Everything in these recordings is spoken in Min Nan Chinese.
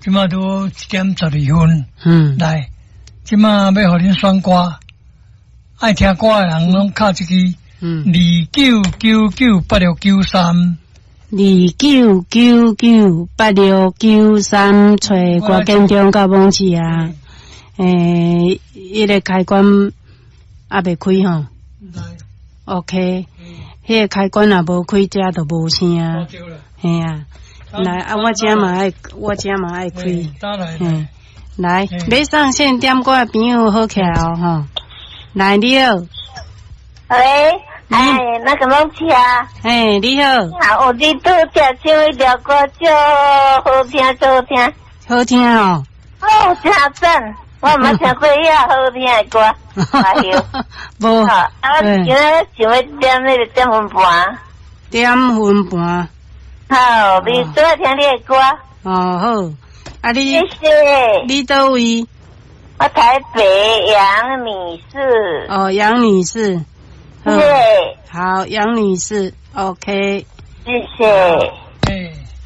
這馬拄1點12分。來，這馬欲予恁選歌，愛聽歌的人攏敲這支29998693。29998693，揣郭建中佮罔市啊。欸，彼个開關猶未開吼。OK，彼个開關若無開，這就無聲。嘿啊，來啊，我這嘛愛，我這嘛愛開。嘿，來，欲上線點歌的朋友好起來哦吼。來，你好。喂，哎，那個罔市啊？嘿，你好。啊，我你拄才唱彼條歌，足好聽，足好聽。好聽哦。哦，真讚！我毋捌聽過遐好聽的歌。哎喲，無。啊，我今仔想欲點彼個點分盤。點分盤。好，你最愛聽你的歌。哦，好。啊你，謝謝。你佗位？我台北楊女士。哦，楊女士。對。好，楊女士，OK。謝謝。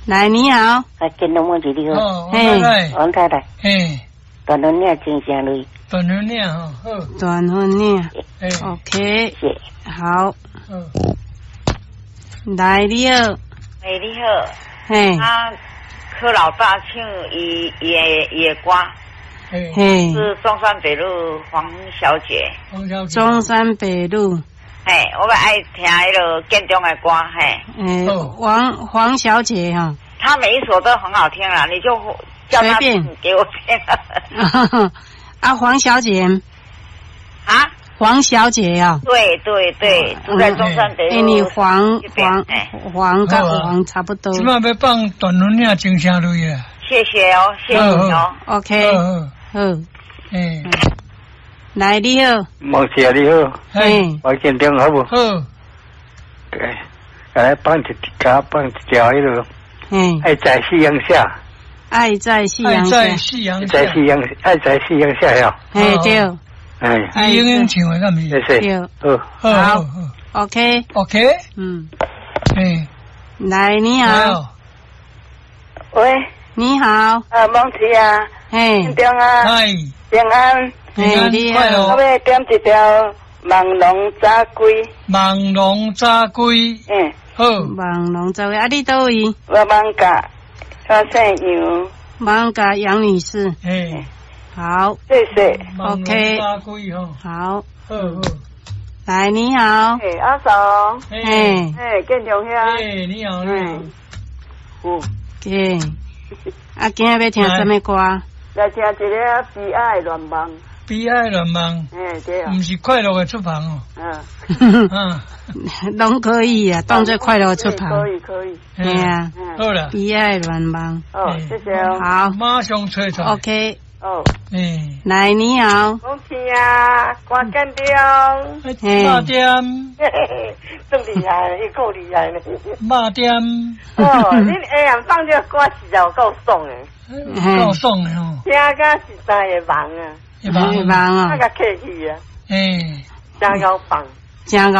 來，你好。啊，建中罔市你好。嘿，王太太。嘿。斷雲嶺情聲淚。斷雲嶺吼，好。斷雲嶺。OK。好。來，你好。哎，你好。嘿。啊，柯老大唱伊伊的伊的歌。嘿。是中山北路黃小姐。黃小姐。中山北路。嘿，我欲愛聽彼个建中的歌，嘿。欸，黃黃小姐哈。她每一首都很好聽啦，你就叫她給我聽。啊，黃小姐。啊？黃小姐啊。對對對，住在中山北路。欸，你黃黃黃佮黃差不多。這馬欲放斷雲嶺情聲淚啊。謝謝哦，謝謝哦。 OK。好。欸。來，你好。罔市啊，你好。嘿。我建中好無？好。對，來放一，共放一條彼个。愛在夕陽下。愛在夕陽下。愛在夕陽下。在夕陽，愛在夕陽下喲。嘿，對。哎。英英唱的敢毋是？謝謝。好。好。OK。 OK。哎。來，你好。喂。你好。啊，罔市啊。嘿。建中啊。嗨。平安。平安，快樂。我欲點一條《夢龍早歸》。夢龍早歸。嗯。好。夢龍早歸，啊，你佗位？我艋舺，我姓楊。艋舺楊女士。嘿。好。謝謝。 OK。早歸吼。好。好好。來，你好。嘿，阿嫂。嘿。嘿，建中兄。嘿，你好，你好。有。嘿。啊，今仔欲聽啥物歌？來聽一个悲哀的願望。悲哀願望。嘿，對啊。毋是快樂的出帆哦。嗯。嗯。攏可以啊，當做快樂出帆。可以可以。嘿啊。好啦。悲哀願望。哦，謝謝哦。好。馬上揣出來。 OK。哦。嗯。來，你好。罔市啊，郭建中。肉店。足厲害，伊夠厲害呢。肉店。哦，恁下暗放這個歌實在有夠爽的。夠爽的吼。聽甲實在會夢啊。會夢啊。啊，共客氣啊。欸。真𠢕放。真𠢕。